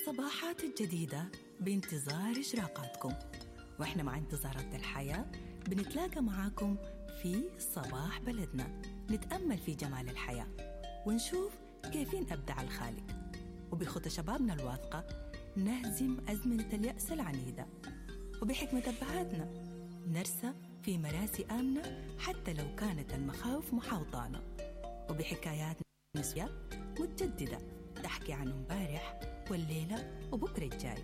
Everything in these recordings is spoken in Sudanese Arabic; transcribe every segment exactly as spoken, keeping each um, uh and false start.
الصباحات الجديدة بانتظار إشراقاتكم، وإحنا مع انتظارات الحياة بنتلاقى معاكم في صباح بلدنا، نتأمل في جمال الحياة ونشوف كيفين أبدع الخالق، وبخطى شبابنا الواثقة نهزم أزمنة اليأس العنيدة، وبحكمة أبهاتنا نرسى في مراسي آمنة حتى لو كانت المخاوف محاوطانا، وبحكايات نسوية متجددة تحكي عن امبارح والليلة وبكرة الجاي،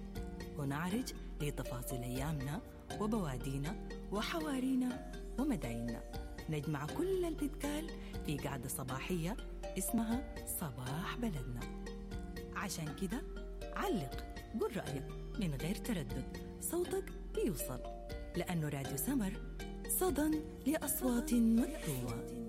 ونعرج لتفاصيل أيامنا وبوادينا وحوارينا ومدايننا. نجمع كل اللي بيتقال في قعدة صباحية اسمها صباح بلدنا. عشان كده علق، قول رأيك من غير تردد، صوتك بيوصل، لأنه راديو سمر صدى لأصوات مكتومة.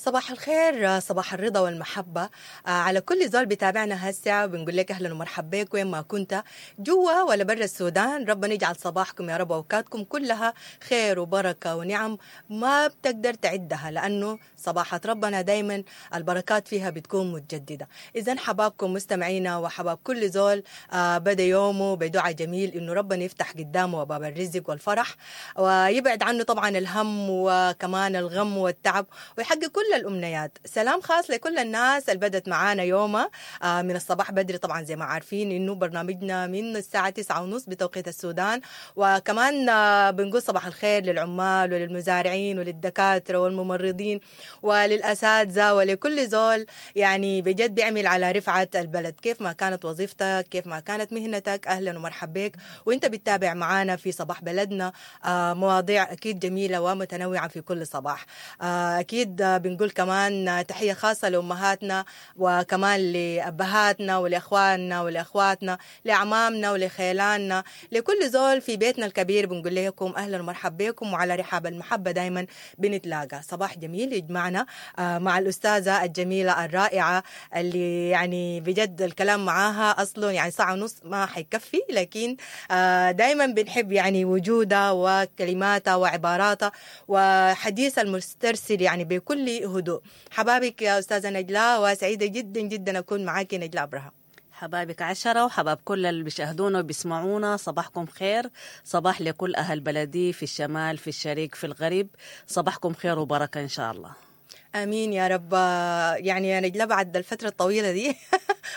صباح الخير، صباح الرضا والمحبة آه، على كل زول بيتابعنا هسه. بنقول لك أهلا ومرحبا بك وين ما كنت، جوا ولا برا السودان. ربنا يجعل صباحكم يا رب وأوقاتكم كلها خير وبركة ونعم ما بتقدر تعدها، لأنه صباحات ربنا دايما البركات فيها بتكون متجددة. إذا حبابكم مستمعينا وحباب كل زول آه، بدأ يومه بدعاء جميل إنه ربنا يفتح قدامه باب الرزق والفرح، ويبعد عنه طبعا الهم وكمان الغم والتعب، ويحقق كل الأمنيات. سلام خاص لكل الناس اللي بدت معانا يومها آه، من الصباح بدري. طبعا زي ما عارفين إنه برنامجنا من الساعة تسعة ونص بتوقيت السودان. وكمان آه، بنقول صباح الخير للعمال وللمزارعين وللدكاترة والممرضين وللأساتذة ولكل زول يعني بجد بيعمل على رفعة البلد، كيف ما كانت وظيفتك، كيف ما كانت مهنتك. أهلا ومرحبا بك وانت بتتابع معانا في صباح بلدنا آه، مواضيع أكيد جميلة ومتنوعة في كل صباح. آه، أكيد آه، بنقول كمان تحية خاصة لأمهاتنا وكمان لأبهاتنا ولأخواننا ولأخواتنا، لأعمامنا ولخيلاننا، لكل زول في بيتنا الكبير. بنقول لكم أهلا ومرحبا بكم، وعلى رحاب المحبة دايما بنتلاقى. صباح جميل يجمعنا آه، مع الأستاذة الجميلة الرائعة اللي يعني بجد الكلام معاها أصله يعني ساعة ونص ما حيكفي، لكن آه، دايما بنحب يعني وجودها وكلماتها وعباراتها وحديث المسترسل يعني بكل هدوء. حبابك يا أستاذة نجلاء، وسعيدة جدا جدا أكون معاكي نجلاء أبراهام. حبابك عشرة وحباب كل اللي بيشاهدونا وبيسمعونا، صباحكم خير. صباح لكل أهل بلدي في الشمال، في الشرق، في الغرب، صباحكم خير وبركة إن شاء الله. امين يا رب. يعني يا نجلاء بعد الفترة الطويلة دي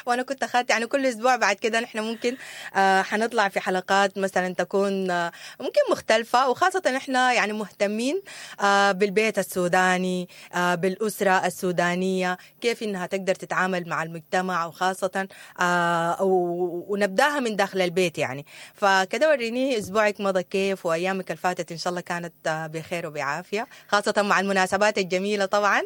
وانا كنت اخذت يعني كل اسبوع بعد كده نحن ممكن آه حنطلع في حلقات مثلا تكون آه ممكن مختلفة، وخاصة نحن يعني مهتمين آه بالبيت السوداني، آه بالاسرة السودانية، كيف انها تقدر تتعامل مع المجتمع، وخاصة آه ونبداها من داخل البيت يعني. فكده وريني اسبوعك مضى كيف، وايامك اللي فاتت ان شاء الله كانت آه بخير وبعافيه، خاصة مع المناسبات الجميلة طبعا.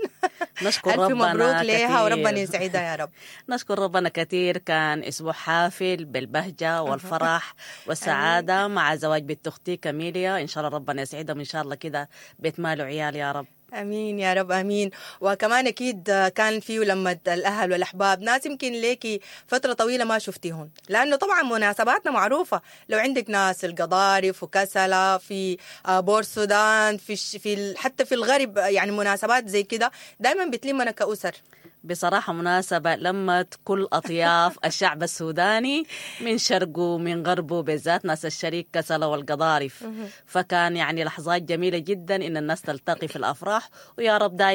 نشكر ألف ربنا مبروك ليها وربنا كثير. يسعدها يا رب. نشكر ربنا كثير، كان أسبوع حافل بالبهجة والفرح والسعادة مع زواج بنت أختي كاميليا، إن شاء الله ربنا يسعدهم إن شاء الله كده بيت مال وعيال يا رب. امين يا رب امين. وكمان اكيد كان فيه لما الاهل والاحباب، ناس يمكن ليكي فترة طويلة ما شفتيهم، لانه طبعا مناسباتنا معروفة، لو عندك ناس القضارف وكسله في بور السودان، في الش- في ال- حتى في الغرب، يعني مناسبات زي كده دائما بتلمنا كاسر. بصراحة مناسبة لمت كل أطياف الشعب السوداني من شرقه من غربه، بالذات ناس الشريك كسلة والقضارف. فكان يعني لحظات جميلة جدا إن الناس تلتقي في الأفراح، ويا رب دائما